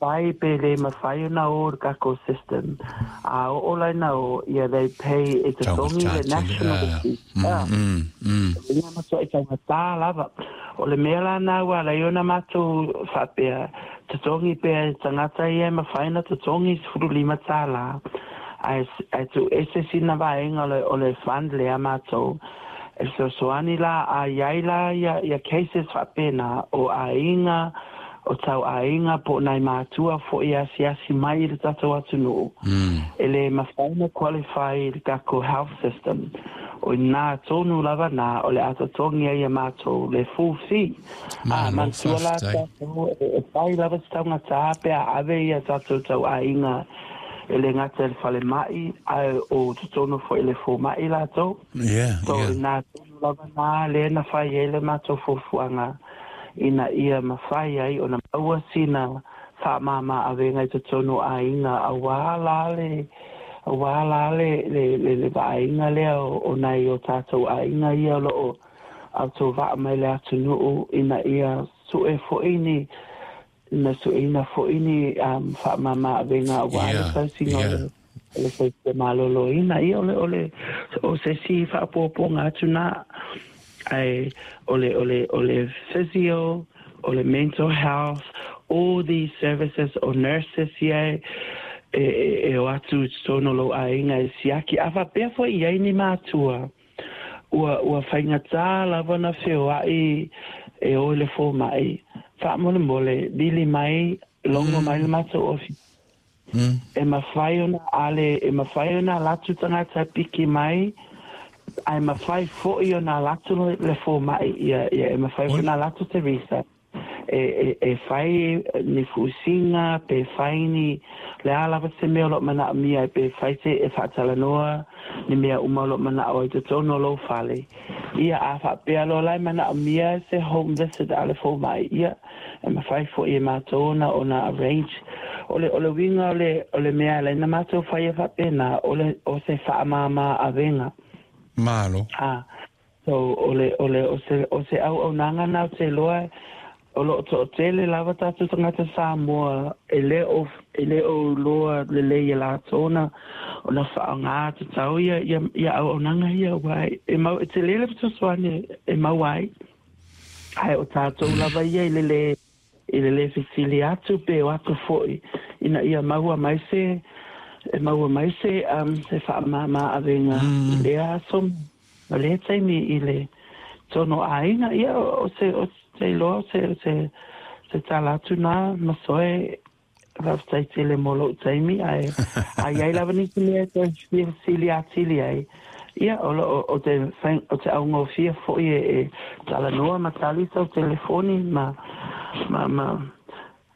mafai pe le mafai ona o i le tatou system, a oo la ina o, ia they pay e totogi le national fee. Ia matuai taugata lava. O le mea la na ua ala ai ona matou faapea, totogi pea e tagata ia e mafai ona totogi $15, ae ae tuuese sina vaega o le o le fund lea matou e fesoasoani la a i ai la ia ia cases faapena o aiga o tau aiga po o nai matua foi e asiasi mai i le tatou atunuu e le mafai ona qualify i le tatou health system. O i ina tonu lava na o le a totogi ai e matou le full fee. A Malo manatua la faafetai. tatou e fai lava se taugata pe a ave ia tatou tau aiga e le gata i le falemai ae o totonu foi i le fomai latou. So o i ina tonu lava na lea na fai ai le matou fuafuaga ina ia mafai ai ona maua sina faamama avega i totonu o aiga auā la le auā la le le le le vaaiga lea o nai o tatou aiga ia o lo o autovaa mai le atunuu ina ia sue foi ni na sueina foi ni faamama avega auā le tausiga o le o le soifua maloloina. Ia o le o le o se isi faaopoopoga atu na, ae o le o le o le physio, o le mental health, all these services o nurses ia e e o atu i totonu o lou aiga e siaki. A faapea foi i ai ni matua ua ua faigata lava ona feoai e o i le fomai, faamolemole vili mai, logo mai le matou ofisa. E mafai ona ale, e mafai ona alu atu tagata e piki mai, ae mafai foi ona alu atu le fomai, ia, ia e mafai foi ona alu atu Teresa e, e, e fai ni fusiga, pe fai ni le a lava se mea o lo o manaomia, pe fai se e faatalanoa ni mea uma o lo o manao ai totonu o lou fale. Ia, a faapea loa la e manaomia se home visit a le fomai, ia, e mafai foi e matou ona ona arrange. O le o le uiga o le o le mea e ala ai ona matou faia faapena, o le o se faamama avega. Malo. A, so o le o le o se o se auaunaga na ou te iloa o lo o toatele lava tatou tagata Samoa e le o e le o iloa lelei e latou ona ona faaaoga tatau ia ia ia auaunaga ia aua e mau e tele le fesoasoani e maua ai. Ae o tatou lava ia i le lē i le lē fesili atu pe o atu foi ina ia maua mai se e maua mai se se faamama avega i lea aso ma lea taimi i le tonu o aiga. Ia o se o te iloa o se o se se tala atu na Masoe. Faafetai tele mo lou taimi, ae a i ai lava nisi mea e toe fia fesili atili ai, ia, o lo o te o te augofie foi e e talanoa ma tali sau telefoni ma ma ma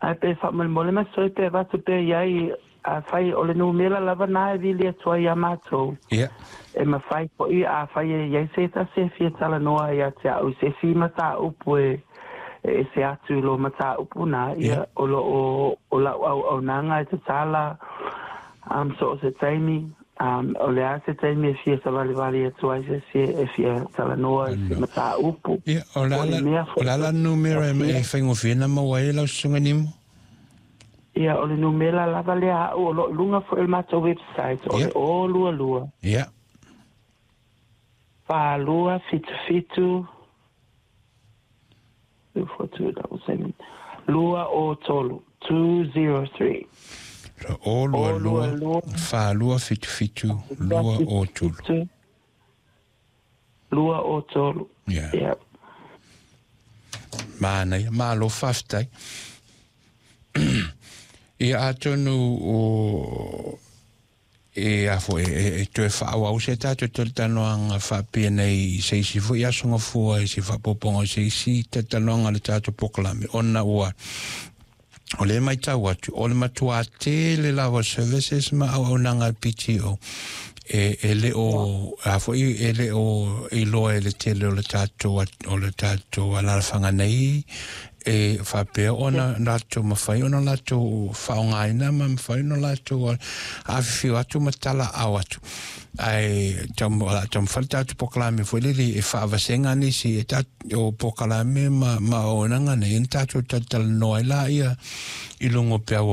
ae pe faamolemole Masoe pe avatu pea i ai afai o le numera lava na e vili atu ai iā matou. E mafai foi afai e i ai se tasi e fia talanoa ia te au i se isi mataupu e e ese atu i lo mataupu na, ia, o lo o o lau auaunaga e tatala so o se taimi, o le a se taimi e fia savalivali atu ai se isi e fia talanoa i se mataupu. Ia, o le Po o a le mea o foi le a la numera e faigofie ona maua ai lau susuga Nimo? Ia, o le numera lava lea a'u o lo o i luga foi o le matou website, o le 022 4277 24277 203 203. So, 022 4277 203. 203. Ia. Manaia, malo faafetai. Ia atonu o e a foi e, e toe faaauau se tatou talatalanoaga faapea nei i se isi foi aso gafua i se faaopoopoga o se isi talatalanoaga a le tatou polokalame ona ua o lea e matau atu o le matuā tele lava o services ma auaunaga a le PTO e, e le o a foi e le o iloa e le tele o le tatou o le tatou alaalafaga nei e faapea ona latou mafai ona latou faaaogaina ma mafai ona latou afifio atu ma talaaao atu. Ae o le a taumafai le tatou polokalame foi lele e faavasega nisi e o polokalame ma auaunaga nei ona tatou talatalanoa ai laia i luga o peau.